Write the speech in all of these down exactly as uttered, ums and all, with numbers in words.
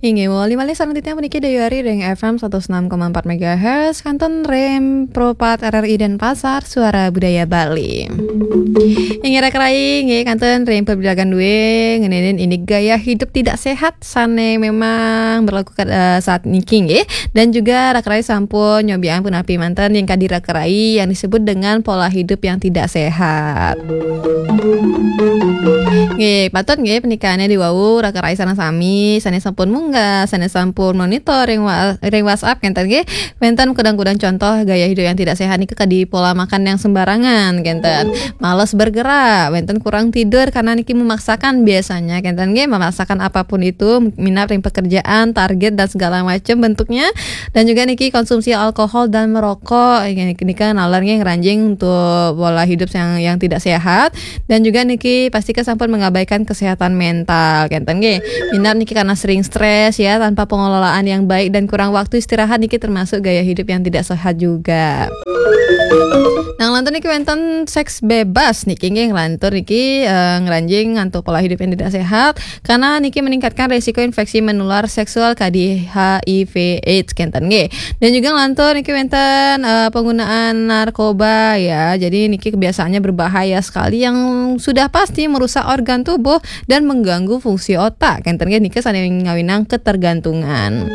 Inggih, mawali malih sareng titiang puniki Dayuari ring F M satus enam koma empat megahertz, kantun ring Pro empat R R I Denpasar, Suara Budaya Bali. Inggih, raka rai, inggih, kantun ring pabilagan dua, ngeninin indik gaya hidup tidak sehat sane memang berlaku, eh, saat niki, inggih. Dan juga raka rai sampun nyobiang punapi manten ring kadi raka rai yang disebut dengan pola hidup yang tidak sehat. Nggih, patut nggih punika diwau raka rai sareng sami sane sampun munggah, sane sampun monitor ring wa-, ring WhatsApp kenten nggih. Wenten kudang-kudang contoh gaya hidup yang tidak sehat niki kadi pola makan yang sembarangan kenten. Males bergerak, wenten kurang tidur karena niki memaksakan biasanya kenten nggih, memaksakan apapun itu minat ring pekerjaan, target dan segala macam bentuknya. Dan juga niki konsumsi alkohol dan merokok, niki nalar nggih ngranjing untuk pola hidup yang, yang tidak sehat. Dan juga niki pasti kesampun mengabaikan kesehatan mental, kenten nggih. Minat niki karena sering stres ya, tanpa pengelolaan yang baik dan kurang waktu istirahat niki termasuk gaya hidup yang tidak sehat juga. Nah, nglantur niki wenten seks bebas niki nggih, nglantur niki, eh, ngranjing untuk pola hidup yang tidak sehat karena niki meningkatkan risiko infeksi menular seksual kadi H I V AIDS kenten nggih. Dan juga nglantur niki wenten, eh, penggunaan narkoba ya. Jadi niki kebiasaannya berbahaya sekali yang sudah pasti merusak organ tubuh dan mengganggu fungsi otak. Kenten nggih nika sane ngawinang ketergantungan.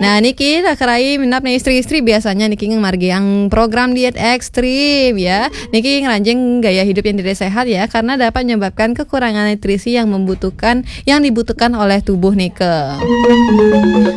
Nah, niki raka rai minat nih istri-istri biasanya niki ngamargiang program diet ekstrim ya. Niki ngranjing gaya hidup yang tidak sehat ya, karena dapat menyebabkan kekurangan nutrisi yang membutuhkan, yang dibutuhkan oleh tubuh nika.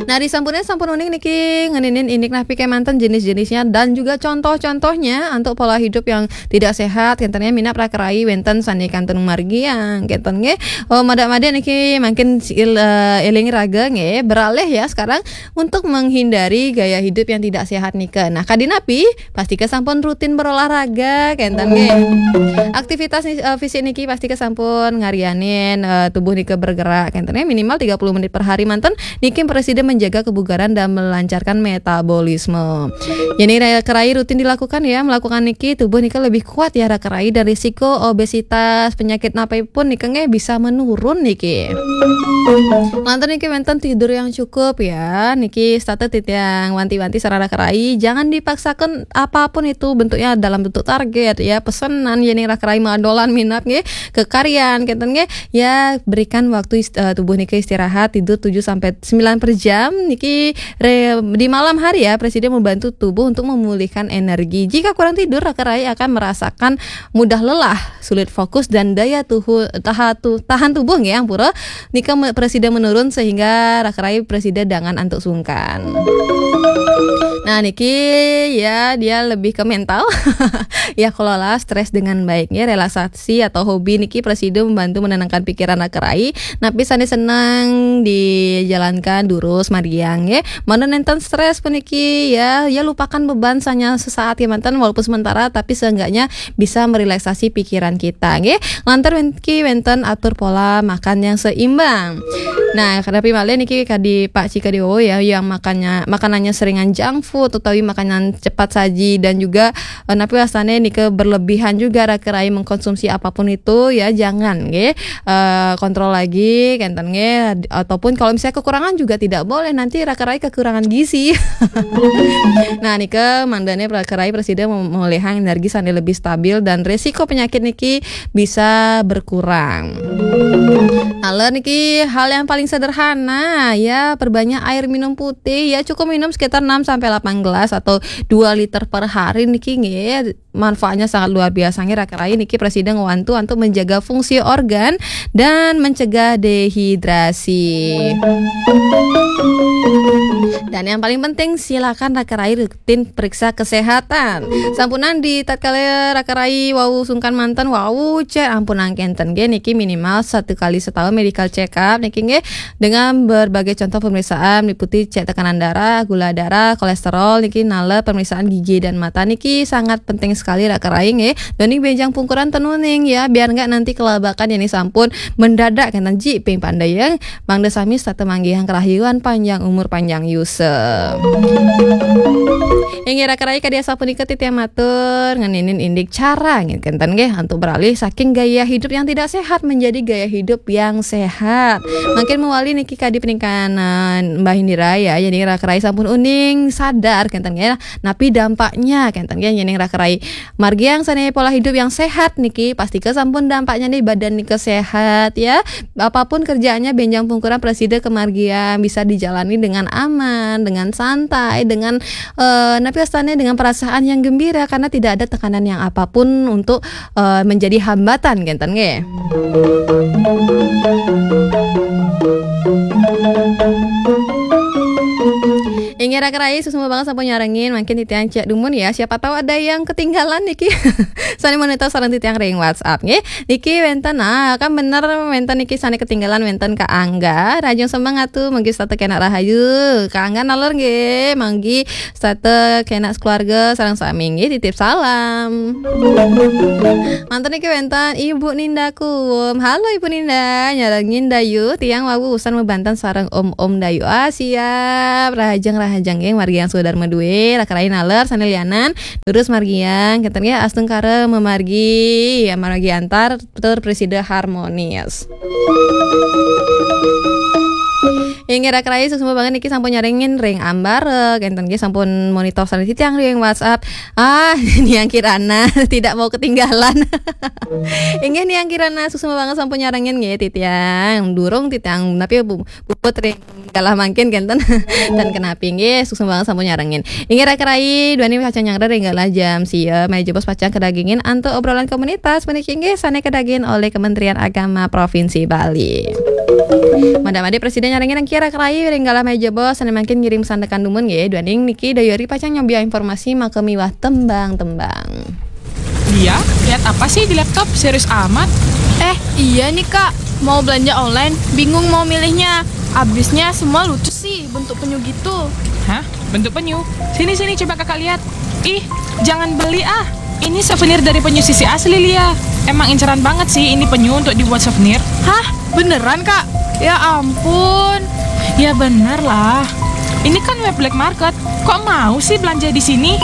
Nah, disampune sampun uning niki ngeninin indik napi kemanten jenis-jenisnya dan juga contoh-contohnya untuk pola hidup yang tidak sehat, kenten nggih minat raka rai wenten sane kantun ngamargiang, kenten nggih. Oh, madak-madak niki mangkin si-, il-, eh, eling raga nggih, beralih ya sekarang untuk menghindari gaya hidup yang tidak sehat nika. Nah, kadi napi, pastika sampun rutin berolahraga, kenten nggih. Aktivitas ni-, eh, fisik niki pastika sampun ngarianin, eh, tubuh nika bergerak, kenten nggih, minimal tiga puluh menit per hari manten niki prasida menjaga kebugaran dan melancarkan metabolisme. Jadi, raka rai rutin dilakukan ya, melakukan niki tubuh nika lebih kuat ya raka rai dan risiko obesitas, penyakit napi pun nika nggih bisa menurun niki. Lantur niki wenten tidur yang cukup ya, niki setata titiang wanti-wanti sareng raka rai, jangan dipaksakan apapun itu bentuknya dalam bentuk target ya, pesenan ya nih raka rai madolan minat nggih, ke karyan kenten nggih. Ya, berikan waktu ist-, eh, tubuh niki istirahat, tidur tujuh sampai sembilan per jam. Niki re-, di malam hari ya, prasida membantu tubuh untuk memulihkan energi. Jika kurang tidur, raka rai akan merasakan mudah lelah, sulit fokus, dan daya tuhu-, taha-, tu-, tahan tubuh nggih, ampura, nika me-, prasida menurun sehingga raka rai prasida dangan antuk sungkan. Nah, niki ya, dia lebih ke mental. Ya, kelola stres dengan baik ya. Relaksasi atau hobi niki prasida membantu menenangkan pikiran raka rai. Napi sane seneng dijalankan durus margiang ya. Mangda nenten stres puniki ya, ya lupakan beban sanya sesaat ya manten, walaupun sementara, tapi seenggaknya bisa merelaksasi pikiran kita nggih. Lantur wen-, niki wenten atur pola makan yang seimbang. Nah, kadapi malih niki kadi Pak Cika Dewo ya, yang makannya, makanannya seringan junk food utawi makanan cepat saji dan juga, eh, napi wastane nika berlebihan juga raka rai mengkonsumsi apapun itu ya, jangan nggih. Eh, kontrol lagi kenten nggih, ataupun kalau misalnya kekurangan juga tidak boleh, nanti raka rai kekurangan gizi. Nah, nika mangdane raka rai prasida mem-, melihang energi sane lebih stabil dan resiko penyakit niki bisa berkurang. Taler niki hal yang paling sederhana ya, perbanyak air minum putih ya, cukup minum sekitar enam sampai delapan gelas atau dua liter per hari niki nggih. Manfaatnya sangat luar biasa nggih raka rai niki prasida ngwantu untuk menjaga fungsi organ dan mencegah dehidrasi. Dan yang paling penting, silakan raka rai rutin periksa kesehatan. Sampunang di tatkala raka rai wau sungkan manten, wau cek ampunang kenten nggih, niki minimal satu kali setahun medical check up niki nggih, dengan berbagai contoh pemeriksaan meliputi cek tekanan darah, gula darah, kolesterol niki, naler pemeriksaan gigi dan mata niki sangat penting sekali raka rai nggih. Duaning benjang pungkuran ten uning ya, biar enggak nanti kelabakan yang sampun mendadak kenten ji ping pandai ya. Mangda sami setata manggihang kerahayuan, panjang umur, panjang Use. Inggih raka rai, kadi asapunika titiang matur ngeninin indik cara nggih kenten nggih antuk beralih saking gaya hidup yang tidak sehat menjadi gaya hidup yang sehat. Mangkin mawali niki kadi paningkanan Mbah Indira ya, jadi raka rai sampun uning sadar kenten nggih napi dampaknya kenten nggih, yening raka rai margiang sane pola hidup yang sehat niki, pastika sampun dampaknya nih badan nika sehat ya. Apapun kerjaannya benjang pungkuran prasida kamargiang bisa dijalani dengan aman, dengan santai, dengan eh, napi wastane dengan perasaan yang gembira karena tidak ada tekanan yang apapun untuk eh, menjadi hambatan kenten nggih. Inggih raka rai, suksma banget sampun nyarengin, mangkin titiang cek dumun ya, siapa tahu ada yang ketinggalan niki. Sane monitor sareng titiang ring WhatsApp nggih. Niki wenten, ah, kan bener wenten niki sane ketinggalan wenten Kak Angga. Rahajeng semeng atu, mugi setata kenak rahayu. Kak Angga naler nggih, manggi setata kenak sekeluarga sareng sami nggih, titip salam. Manten niki wenten Ibu Ninda Kuwum. Halo Ibu Ninda, nyarengin Dayu, tiang wau usan mabanten sareng Om-om Dayu. Ah, siap. Rahajeng rahajeng nggih margiang sadarma duwe, raka rai naler sane lianan. Durus margiang kenten nggih, astungkara mamargi, ya, margi antar tur prasida harmonis. Inggih raka rai, suksma banget niki sampun nyarengin ring ambara, kenten nggih sampun monitor sareng titiang ring WhatsApp. Ah, Niang Kirana tidak mau ketinggalan. Inggih Niang Kirana, suksma banget sampun nyarengin nggih titiang. Durung titiang napi bu- puput ring galah mangkin kenten. Dan kenapi nggih, suksma banget sampun nyarengin. Inggih raka rai, duaning pacang nyanggra ring galah jam sia, malih jebos pacang kadagingin antuk obrolan komunitas puniki nggih sane kadagingin olih Kementerian Agama Provinsi Bali. Mangda-mangda prasida nyarengin engkira raka rai ring galah malih jebos sane mangkin ngiring sandekan dumun nggih, duaning niki Dayu Ari pacang nyobiahang informasi maka miwah tembang-tembang. Dia lihat apa sih di laptop? Serius amat. Eh, iya nih kak, mau belanja online, bingung mau milihnya. Abisnya semua lucu sih bentuk penyu gitu. Hah? Bentuk penyu? Sini sini coba kakak lihat. Ih, jangan beli ah. Ini souvenir dari penyu sisi asli Lia. Emang inceran banget sih ini penyu untuk dibuat souvenir. Hah? Beneran kak? Ya ampun. Ya bener lah. Ini kan web black market. Kok mau sih belanja di sini?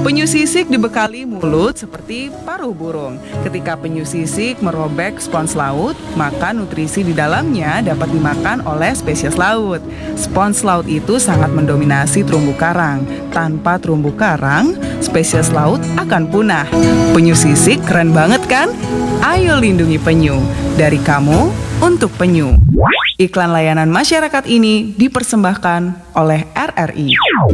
Penyu sisik dibekali mulut seperti paruh burung. Ketika penyu sisik merobek spons laut, maka nutrisi di dalamnya dapat dimakan oleh spesies laut. Spons laut itu sangat mendominasi terumbu karang. Tanpa terumbu karang, spesies laut akan punah. Penyu sisik keren banget kan? Ayo lindungi penyu. Dari kamu, untuk penyu. Iklan layanan masyarakat ini dipersembahkan oleh R R I.